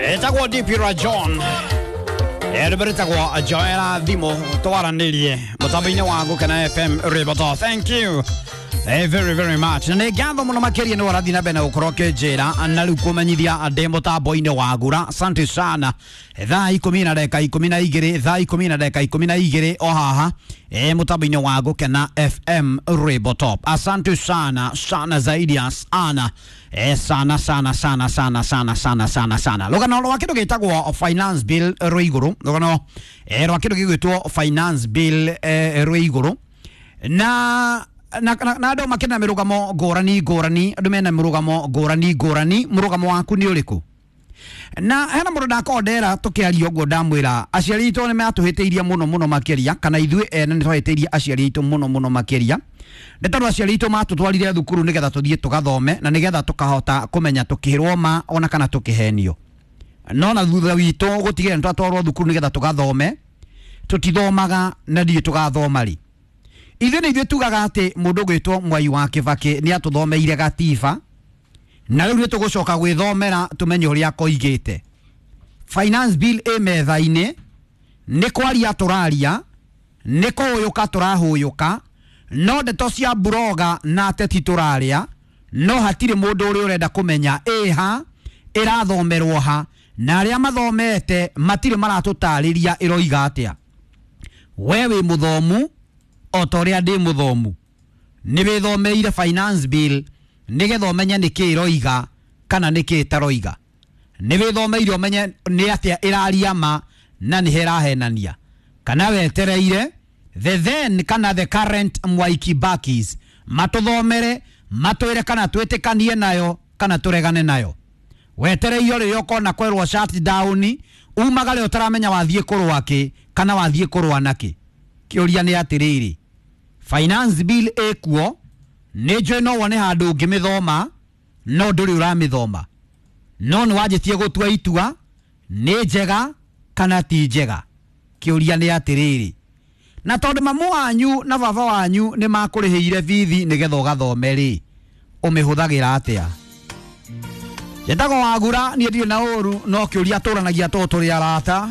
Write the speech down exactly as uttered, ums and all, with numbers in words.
Etagwo D P Rajon, rwĩtagwo Joera thimũ twaranĩrie mũtambo-inĩ wa Gũkena F M Rĩboto. Thank you Eh, very very much. Na nĩ ngatho mũno makĩria nĩ ũrathiĩ na mbere na gũkorwo ũkĩnjĩra na rĩu kũmenyithia ndĩ mũtambo-inĩ wa Gura. Asante sana. Thaa ikũmi na ndagĩka ikũmi na igĩrĩ, thaa ikũmi na ndagĩka ikũmi na igĩrĩ o haha eh, mũtambo-inĩ wa Gũkena F M Rĩboto. Asante sana sana zaidi ya sana. Eh, sana sana sana sana sana sana sana sana. Rũgano rwa kĩndũ gĩtagwo finance bill rwĩ igũrũ. Rũgano eh, rwa kĩndũ gĩgwĩtwo finance bill eh, rwĩ igũrũ. Na na na andũ makĩna mĩrũgamo ngũrani ngũrani, andũ mena mĩrũgamo ngũrani ngũrani, mũrũgamo waku nĩ ũrĩkũ? Na hena mũndũ ndakorwo ndera tũkĩaria ũguo ndamwĩra aciari aitũ nĩ matũhĩtĩirie mũno mũno makĩria, kana ithuĩ ene nĩ twahĩtĩirie aciari aitũ mũno mũno makĩria. Nĩ tondũ aciari aitũ matũtwarire thukuru nĩgetha tũthiĩ tũgathome na nĩgetha tũkahota kũmenya tũkĩrwo ma ona kana tũkĩhenio. No na thutha witũ gũtigĩrĩra nĩ twatwarwo thukuru nĩgetha tũgathome, tũtithomaga na ndirĩ tũgathoma rĩ. Ithuĩ nĩ ithuĩ tugaga atĩ mũndũ ũgwĩtwo Mwai wa Kĩbakĩ nĩ atũthomeire gatiba, na rĩu nĩ tũgũcoka gwĩthomera tũmenye ũrĩa koigĩte. Finance bill ĩ metha-inĩ, nĩ kwaria tũraria, nĩ kũhũyũka tũrahũyũka, no ndeto cia buroga na ateti tũraria, no hatirĩ mũndũ ũrĩa ũrenda kũmenya ĩha ĩrathomerwo ha, na arĩa mathomete matirĩ maratũtarĩria ĩroiga atĩa. We wĩ mũthomu o ta ũrĩa ndĩ mũthomu, nĩ wĩthomeire finance bill nĩgetha ũmenye nĩkĩ ĩroiga kana nĩkĩ ĩtaroiga. Nĩ wĩthomeire ũmenye nĩ atĩa ĩraria ma na nĩ ĩrahenania, kana wetereire the then kana the current Mwai Kibakis matũthomere matwĩre kana twĩtĩkanie nayo kana tũregane nayo. Wetereire rĩrĩa ũkona kwerwo shutdown umagare ũtaramenya wathiĩ kũrũa kĩ kana wathiĩ kũrũa nakĩ. Kĩũria nĩ atĩrĩrĩ, finance bill ĩkuo, nĩ njũĩ no wone handũ ũngĩmĩthoma no ndũrĩ ũramĩthoma, no nĩ wanjĩtie gũtua itua nĩ njega kana ti njega. Kĩũria nĩ atĩrĩrĩ, na tondũ mamu wanyu na baba wanyu nĩ makũrĩhĩire bithi nĩgetha ũgathome rĩ, ũmĩhũthagĩra atĩa? Njĩtagwo Wagura, niĩ ndirĩ na ũru, no kĩũria tũranagia tondũ tũrĩ arata.